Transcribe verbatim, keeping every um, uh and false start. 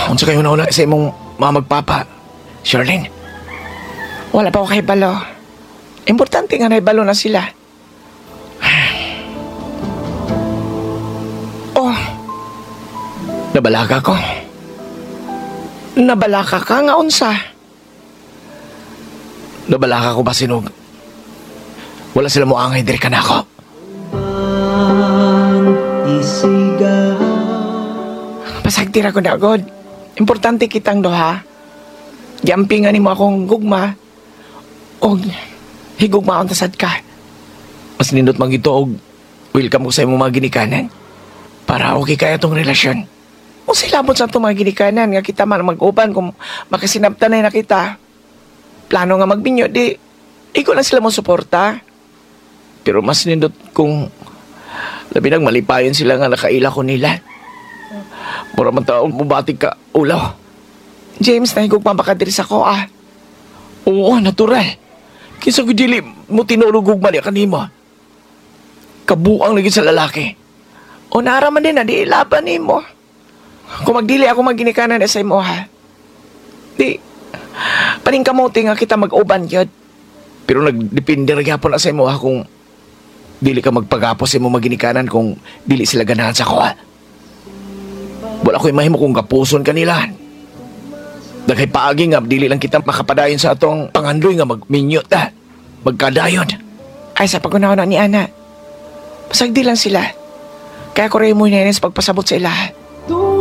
Unsa kayo na sa imong mama magpapa, Charlene? Wala pa ko kahibalo. Importante nga nahibalo na sila. Oh, Nabalaka ko. Nabalaka ka nga unsa. Nabalaka ko ba sinog? Wala sila moangay diri ka nako. Pasagtira ko na god. Importante kitang duha. Giampingan nimo akong gugma. Og higugma ang tasad ka. Mas nindot man gito og welcome ko sa imong mga ginikanan. Para okay kaya tong relasyon. Unsay labot sa atong mga ginikanan nga kita man mag-uban kung makasinabtan na kita. Plano nga magbinyo di iko lang sila mo suporta. Pero mas nindot kung labi nang malipayon sila nga nakaila ko nila. Mura man taong mubatig ka ulaw. James, nahigugma ba ka diri sa ko ah? Oo, natural. Kinsa ko dili mo tinulog gugma niya kanimo. Kabuang lagi sa lalaki. O naara man din na di ilaban nimo. Kung magdili ako maginikanan sa imo ha. Di paningkamote nga kita mag-uban gyud. Pero nagdepende ra gyapon na sa imo ha kung dili ka magpagapos sa imo maginikanan kung dili sila ganahan sa kuha. Wala ko'y mahimo kung gapuson kanila. Daghay paagi nga dili lang kita makapadayon sa atong pangandoy nga magminyo ta. Magkadayon. Ay sa pagunahon na ni ana. Pasagdi lang sila. Kaya ko rin mo sa pagpasabot sa ila.